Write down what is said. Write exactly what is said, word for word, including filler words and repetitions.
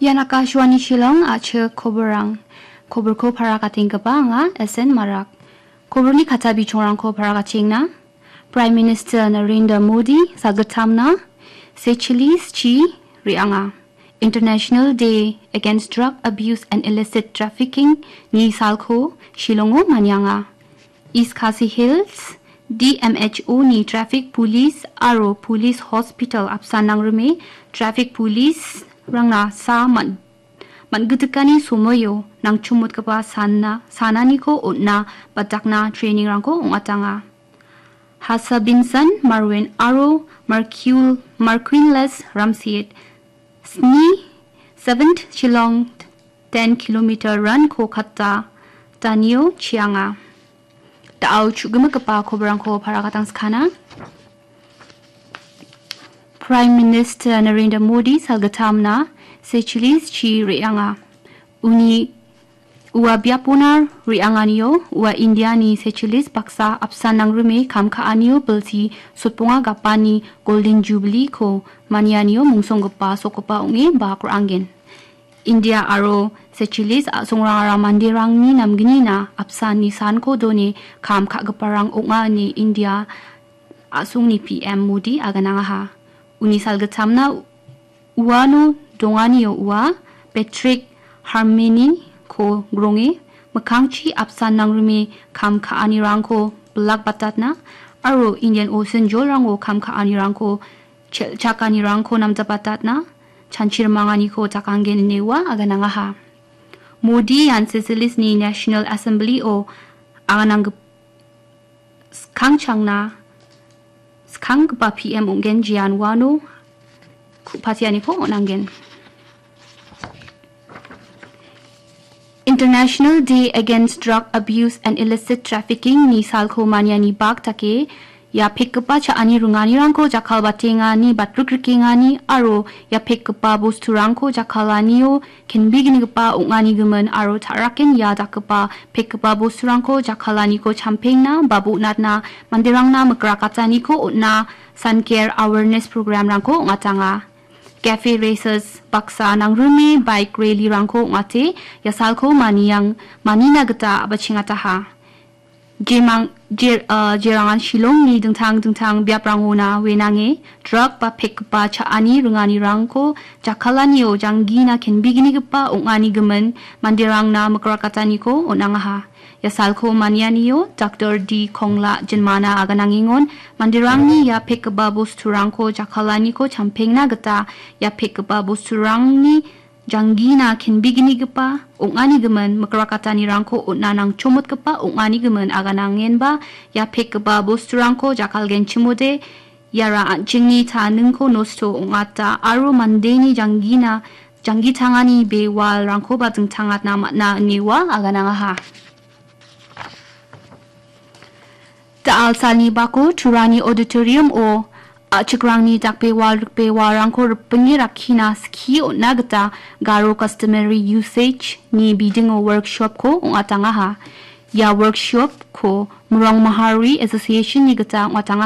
Ian Akashvani Shillong, a·chik koborrang. Koborko parakatenggipa anga S N Marak. Koborni kata bichongrangko parakatengna. Prime Minister Narendra Modi salgittamna Seychelles chi re·anga. International Day Against Drug Abuse and Illicit Trafficking ni salko Shillongo manianga. East Khasi Hills, D M H O ni traffic police aro police hospital apsan nangrime traffic police rangna sa man-, man·gitikani somoio nangchomotgipa sana-, sananiko on·na batakna training-rangko ong·atanga. Hasa Binsan, Marwin aro Marquil-, Marquinless Ramsiet, sni, seventh Shillong ten kilometer run-ko kata danio chianga. Da·ao chu·gimigipa koborrangko parakatangskana. Prime Minister Narendra Modi salgittamna Seychelles chi re·anga. Uni ua biapona re·anganio ua Indiani Seychelles baksa apsan nangrime kam ka·anio bilsi sotbonga gapani Golden Jubilee-ko manianio mungsonggipa sokgipa ong·e bak ra·angen. India aro Seychelles a·songrangara manderangni namgnina apsan nisanko done kam ka·giparang ong·a ine India a·songni P M Modi aganangaha. Uni salgittamna uano donganio ua Patrick Harmini-ko gronge mikkangchi apsan nangrime kam ka·anirangko bilakbatatna aro Indian Ocean jolrango kam ka·anirangko chel-, chakanirangko namjabatatna chanchirmanganiko jakanggen ine ua aganangaha. Modi ian Seychelles-ni National Assembly-o agananggip-, skangchangna skanggipa P M ong·gen, jean uano ku-, patianiko on·angen. International Day Against Drug Abuse and Illicit Trafficking ni salko maniani bak dake, ia pekgipa cha·ani ringanirangko jakkalbatengani, batrikrikengani aro ia pekgipa bosturangko jakkalanio kenbeginigipa ong·anigimin aro ta·raken ia dakgipa pekgipa bosturangko jakkalaniko champengna ba bonatna manderangna mikrakataniko on·a sanker awareness program-rangko ong·atanga. Cafe races baksa nangrime bike rally-rangko ong·ate, ia salko maniang-, manina gita a·bachengataha. Jemang-, jer-, ah, jerangan Shillongni dingtang dingtang biaprangona wenange drug ba pekgipa cha·ani ringanirangko jakkalanio janggina kenbeginigipa ong·anigimin manderangna mikrakataniko on·angaha. Ia salko manianio Doctor D Kongla Jinmana aganangengon, manderangni ia pekgipa bosturangko jakkalaniko champengna gita ia pekgipa bosturangni janggina kenbeginigipa ong·anigimin mikrakatanirangko on·na nangchomotgipa ong·anigimin aganangenba ia pekgipa bosturangko jakkalgenchimode iara an·chingni taningko nosto ong·ata aro mandeni janggina, janggitangani bewalrangkoba dingtangatna man·a ine ua aganangaha. Da·al salni bako Turani auditorium-o a·chikrangni dakbewal rikbewalrangko ripinge rakkina skie on·na gita Garo Customary Usage-ni bidingo workshop-ko ong·atangaha. Ia workshop-ko Mrong Mahari Association-ni gita ong·atangaha.